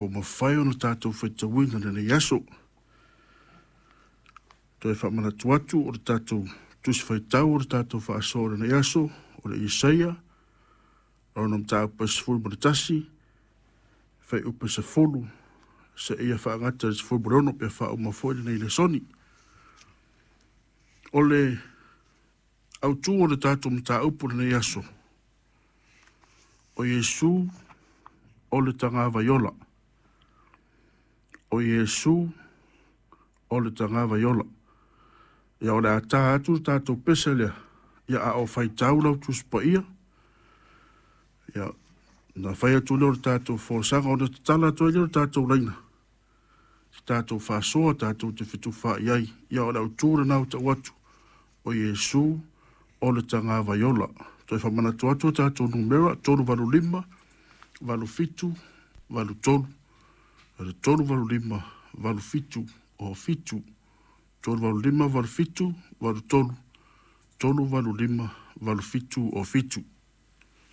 Ua mafai ona tatou faitauina i lenei aso. Toe faamanatu atu o le tatou Tusi Faitau o le tatou faasoa o lenei aso, o le Isaia, lona mataupu e 11, fuaiupu e 10 seia faagata i le 16 pe faauma foi lenei lesoni. O le autu o le tatou mataupu i lenei aso, o Iesu o le tagavai ola. O Iesu o le tagavai ola. Ia, o le a ta atu le tatou pese lea, ia, a o faitau lau Tusi Paia, ia, ona fai atu lea o le tatou folasaga, ona tatala atu ai lea o le tatou laina, se tatou faasoa tatou te fetufaai ai. Ia, o le autu lena ua tau atu, o Iesu o le tagavai ola. Toe faamanatu atu o tatou numera, 385 87 83, o le 385 87 07, 385 87 83, 385 87 07.